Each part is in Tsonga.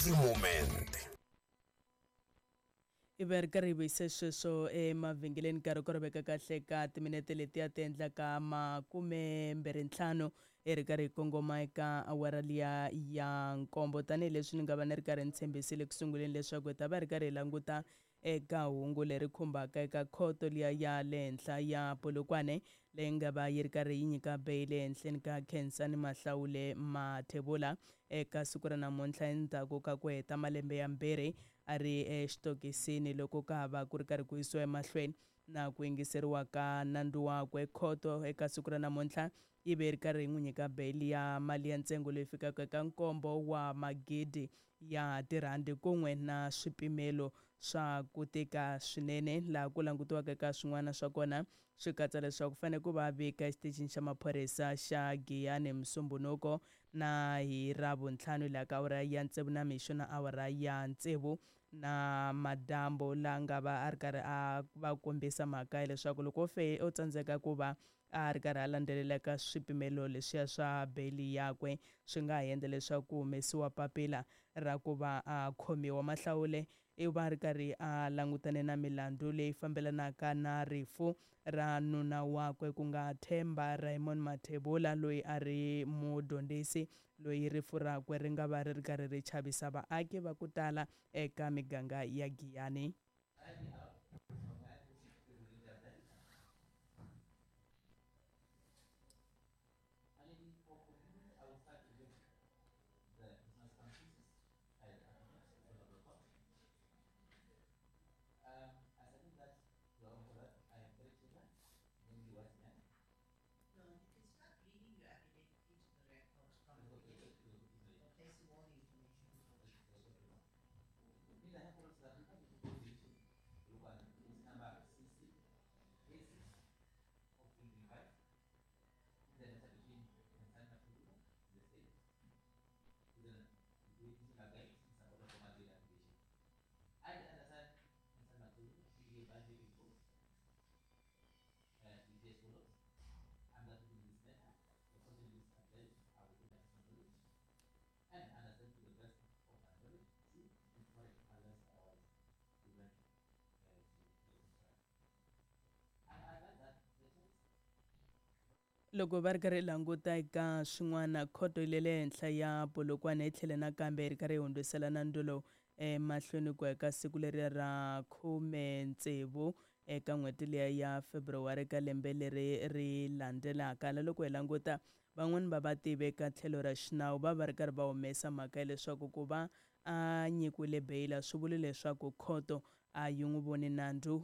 The Moment. Hi va hi ri karhi hi vuyise sweswo emavhengeleni nkarhi ku ri veka kahle ka timinete letiya ti endlaka makumembirhintlhanu hi ri karhi hi kongoma eka awara liya ya nkombo. Tanihileswi ni nga va ni ri karhi ni tshembisile ku sunguleni leswaku hi ta va hi ri karhi hi languta eka hungu leri khumbaka eka khoto liya ya le henhla ya Polokwane leyi nga va yi ri karhi yi nyika beyili ehenhleni ka Khensani Mahlawule Mathebula eka siku ra namuntlha endzhaku ka ku heta malembe yambirhi a ri exitokisini loko ka ha va ku ri karhi ku yisiwa emahlweni na ku yingiseriwa ka nandzu wakwe. Khoto eka siku ra namuntlha yi ve yi ri karhi yi n'wi nyika beyili ya mali ya ntsengo leyi fikaka eka nkombo wa magidi ya tirhandi kun'we na swipimelo swa ku tika swinene, laha ku langutiwaka eka swin'wana swa kona swi katsa leswaku fanele ku va vika exitichini xa maphorisa xa Giyani Musumbhunuko na hi Ravuntlhanu laha ka awara ya tsevu na mixo na awara ya tsevu na madyambu, laha nga va a ri karhi a va kombisa mhaka ya leswaku loko o fe o tsandzeka ku va a ri karhi a landzelela ka swipimelo leswiya swa beyili yakwe swi nga ha endla leswaku ku humesiwa papila ra ku va a khomiwa. Mahlawule i va a ri karhi a langutane na milandzu leyi fambelanaka na rifu ra nuna wakwe ku nga Themba Raymond Mathebula loyi a ri mudyondzisi loyi rifu rakwe ri nga va ri ri karhi ri chavisa vaaki va ku tala eka miganga ya Giyani. Loko va ri karhi languta eka swin'wana, khoto yi le henhla ya Polokwane yi tlhele nakambe yi ri karhi yi hundzisela nandzu lowu emahlweni ku ya ka siku leri ra 16 eka n'hweti liya ya February ka lembe leri ri landzelaka. La loko hi languta van'wani va vativi eka tlhelo ra xinawu va va ri karhi va humesa mhaka ya leswaku ku va a nyikiwile beyili a swi vuli leswaku khoto a yi n'wi voni nandzu.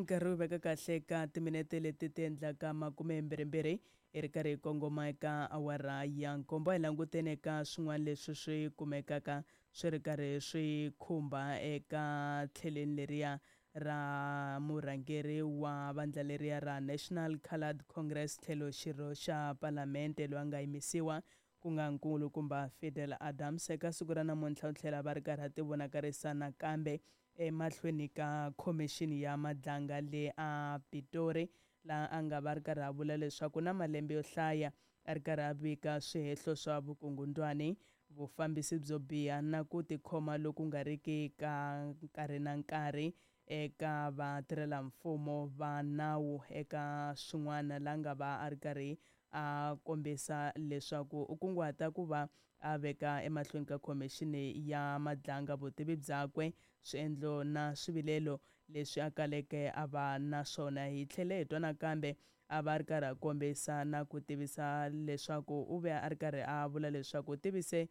Nkarhi wu veka kahle ka timinete leti ti endlaka makumembirhimbirhi hi ri karhi hi kongoma eka awara ya nkombo. Hi languteni eka swin'wana leswi swi kumekaka swi ri karhi swi khumba eka tlheleni leriya ra murhangeri wa vandla leriya ra National Coloured Congress tlhelo xirho xa palamente loyi a nga yimisiwa ku nga nkulukumba Fidel Adams. Eka siku ra namuntlha u tlhela va ri karhi a ti vonakarisa nakambe emahlweni ka khomixini ya Madlanga le a Pitori, laha a nga va ri karhi a vula leswaku na malembe yo hlaya a ri karhi a vika swihehlo swa vukungundwani, vufambisi byo biha na ku tikhoma loku nga riki ka nkarhi na nkarhi eka vatirhelamfumo va nawu. Eka swin'wana la nga va a ri karhi a kombisa leswaku u kunguhata ku va a veka emahlweni ka khomixini ya Madlanga vutivi byakwe, swiendlo na swivilelo leswi a kaleke a va na swona. Hi tlhele hi twa nakambe a va ri karhi a kombisa na ku tivisa leswaku u ve a ri karhi a vula leswaku u tivise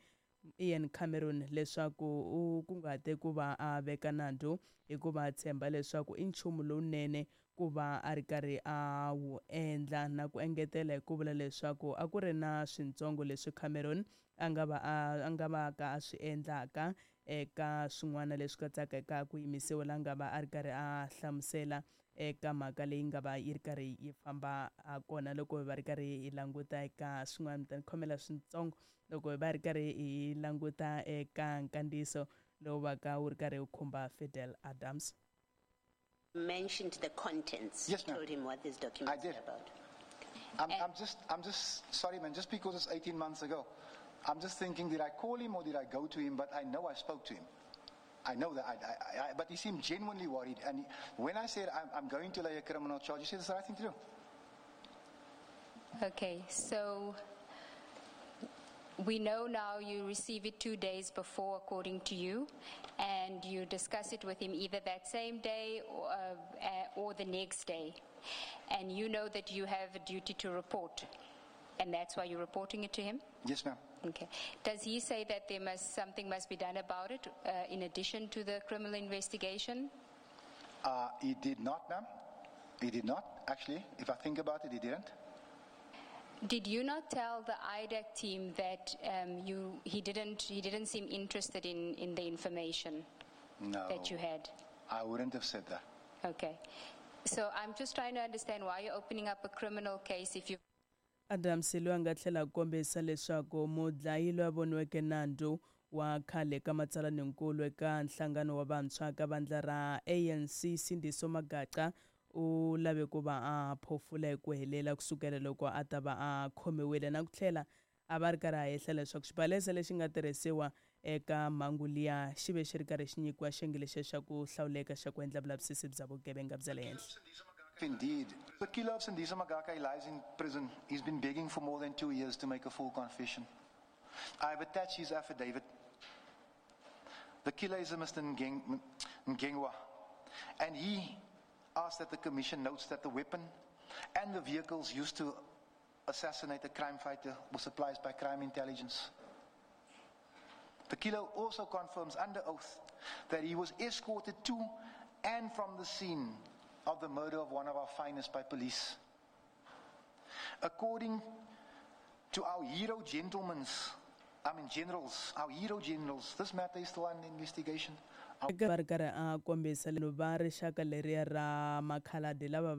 Ian Cameron leswaku u kunguhate ku va a veka nandzu hikuva a tshemba leswaku i nchumu lowunene ku va a ri karhi a wu endla, na ku engetela hi ku vula leswaku a ku ri na swintsongo leswi Cameron a nga va a nga va ka a swi endlaka eka swin'wana leswi katsaka eka ku yimisiwa, la nga va a ri karhi a hlamusela Eka mhaka leyi nga va yi ri karhi yi famba ha kona, loko hi va ri karhi hi languta eka swin'wana, mi ta ni khomela switsongo, loko hi va ri karhi hi languta eka nkandziyiso lowu va ka wu ri karhi wu khumba Fidel Adams. Mentioned the contents. Yes, ma'am. Told him what these documents I did. were about. I'm just sorry, man. Just because it's 18 months ago, I'm just thinking, did I call him or did I go to him? But I know I spoke to him. I know that. But he seemed genuinely worried. And when I said I'm going to lay a criminal charge, he said it's the right thing to do. Okay, so we know now you receive it 2 days before, according to you, and you discuss it with him either that same day or the next day. And you know that you have a duty to report, and that's why you're reporting it to him? Yes, ma'am. Okay. Does he say that there must something must be done about it in addition to the criminal investigation? He did not, ma'am. He did not, actually. If I think about it, he didn't. Did you not tell the IDAC team that he didn't seem interested in the information No. that you had? I wouldn't have said that. Okay. So I'm just trying to understand why you're opening up a criminal case if you Adams loyi a nga tlhela a kombisa leswaku mudlayi loyi a voniweke nandzu wa khale ka matsalaninkulu eka nhlangano wa vantshwa ka vandla ra ANC, Sindiso Magaqa, u lave ku va a phofula hi ku helela kusukela loko a ta va a khomiwile, na ku tlhela a va ri karhi a hehla leswaku xibalesa lexi nga tirhisiwa eka mhangu liya xi ve xi ri karhi xi nyikiwa xiyenge lexiya xa ku hlawuleka xa ku endla vulavisisi bya vugevenga bya le henhla. Indeed. The killer of Sindiso Magaqa, he lies in prison. He's been begging for more than 2 years to make a full confession. I've attached his affidavit. The killer is a Mr. Ngengwa. And he asked that the commission notes that the weapon and the vehicles used to assassinate a crime fighter were supplied by crime intelligence. The killer also confirms under oath that he was escorted to and from the scene of the murder of one of our finest by police. According to our hero gentlemen's, I mean generals, our hero generals, this matter is still under investigation. Va ri karhi a kombisa va rixaka leriya ra makhaladi lava va